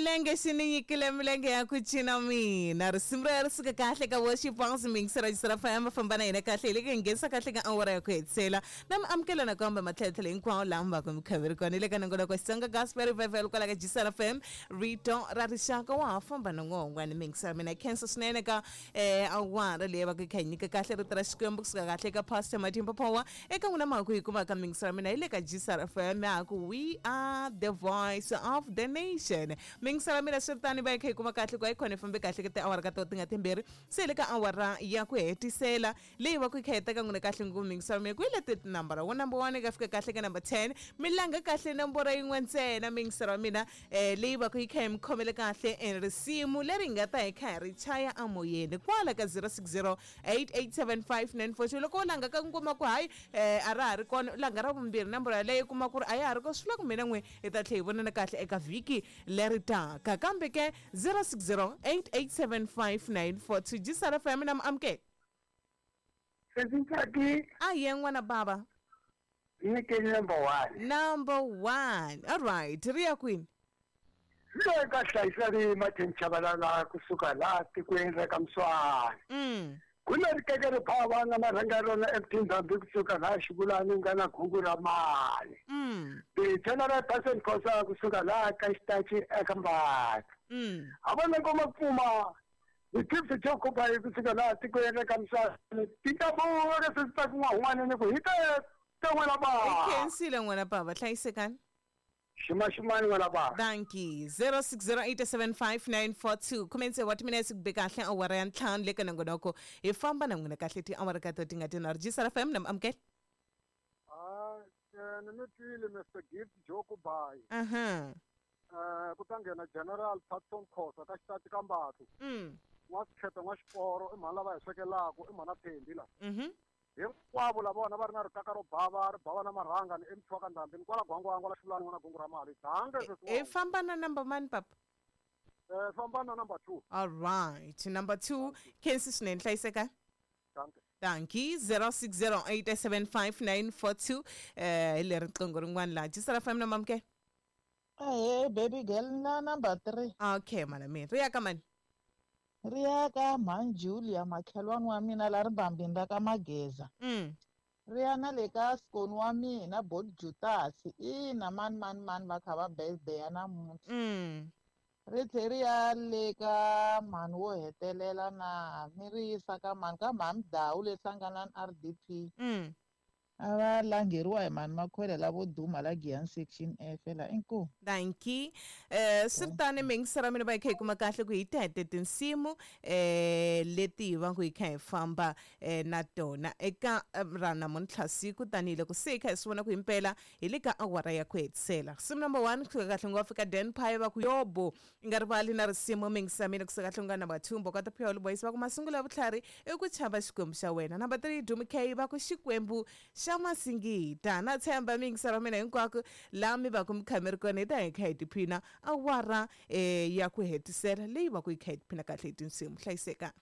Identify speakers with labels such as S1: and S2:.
S1: Milenge xi ni nyikile milenge ya ku cina mina. Risimu ra ri suka kahle ka Worship House Mixer ra famba famba na hina kahle hi le ka nghenisa kahle ka awara ya ku hetisela. Na mi amukela nakambe matlhelatlhelo hinkwawo laha mi va ku mi kha mi ri kona. Hi le ka nongonoko wa Xitsonga Gospel Revival kwala ka Gisela FM rito ra rixaka wa ha famba na n'wahungwani mixer mina khensa swinene ka awara leyi va ku yi kha yi nyika kahle rito ra Xikwembu kusuka kahle ka Pastor Matimba Power eka n'wina ma ha ku yi kuma ka mixer mina hi le ka Gisela FM ha ku we are the voice of the nation. Mingisela mina swi ri tani va yi kha yi kuma kahle ku a yi khona yi fambe kahle ka tiawara ka to ti nga timbirhi se hi le ka awara ya ku hetisela leyi va ku yi kha yi teka n'wina kahle ngopfu mingisela mina ku yi leti tinambara wo number 1 yi ka fika kahle ka number 10 mi langa kahle nomboro yin'we ntsena mingisela wa mina leyi va ku yi kha yi mi khomele kahle and risimu leri hi nga ta hi kha hi ri chaya amoyeni kwala ka 060 8875942 loko wo langa ka kuma ku hayi a ra ha ri kona u langa ra vumbirhi nomboro yaleyo u kuma ku ri a ya ha ri kona swi vula ku mina n'we hi ta tlhela hi vonana kahle eka vhiki leri taka kambe ke 0608875942 jisara fa ya mina mi amukela.
S2: Sesi Ntsaki.
S1: A ye n'wana bava.
S2: Nyikeni number 1.
S1: Number 1. All right, ri ya kwini?
S2: Loyi ka hlayisani Martin Chabalala kusuka laha tikweni ra ka Mswani. Ku na rikeke ri phava na marhanga ya rona MT Ndhambi kusuka laha Xivulani nga na khungu ra mali. The General Person Khosa kusuka laha ka Xitachi eka Mbatha. A vona ngoma pfuma the Chiefs Joe Khubayi kusuka laha tikweni ra ka Mswani. Tintamu eka sesi ta kun'wana ni ku hi ta ta n'wana bava.
S1: Hi khensile n'wana bava, hlayisekani.
S2: Xuma-xumani n'wana bava.
S1: Dankie. 0608759442 khume tsevu wa timinetse ku be kahle awara ya ntlhanu le ka nongonoko hi famba na n'wina kahle tiawara ka to ti nga tinharhu Gisela FM na mi amukela.
S3: Ni mi twile Mister Gift Joe Kubayi.
S1: Aha.
S3: Ku ta nghena General Patson Khosa ka xitati ka Mbatlu. N'wa Sikheta n'wa Xiporo i mhani lava hi swekelaku i mhana Thembi la. Hinkwavo lava vona va ri na rikaka ro bava ri bava na marhanga ni MT wa ka Ndhambi ni kwala Gwangwangwa la Xivulani n'wana gungu ra mali. Dange sesi
S1: Hi famba na number mani papa?
S3: Famba na number 2.
S1: All right, number 2. Khensi swinene hlayiseka.
S3: Danke.
S1: Dankie. 0608759442 hi leri riqingho rin'wana laha. Gisela FM na mamke.
S4: Hey baby girl na number 3.
S1: Okay mana mina. Ri ya ka mani?
S4: Ri ya ka mhani Julia makhelwani wa mina la ribambini ra ka Mageza. Ri ya na le ka Skoni wa mina Bot Jutas ina mani mani mani va kha va birthday namuntlha. Ri tlhe ri ya le ka mhani wo hetelela na mi ri yisa ka mhani ka mhani Dawu le Hlanganani RDP. A va langheriwa hi mhani Makhwele lavo duma la Giyani section F la inkomu.
S1: Dankie. Swi ri tani mingisera mina va hi kha hi kuma kahle ku hi tete tinsimu leti hi va ku hi kha hi famba na tona eka ra namuntlha siku tanihiloko se hi kha hi swi vona ku himpela hi le ka awara ya ku hetisela. Risimu number 1 kusuka kahle ngopfu ka Dan Pie va ku Yobo i nga rivali na risimu mingisa mina kusuka kahle nga number 2 Mbokota Pure Boys va ku masungulo ya vutlhari i ku chava Xikwembu xa wena. Number 3 Dumi K va ku Xikwembu xa masingita. Na tshemba mingisa ra mina hinkwako laha mi va ku mi kha mi ri kona hi ta hi kha hi tiphina awara ya ku hetisela leyi va ku yi kha hi tiphina kahle hi tinsimu. Hlayiseka.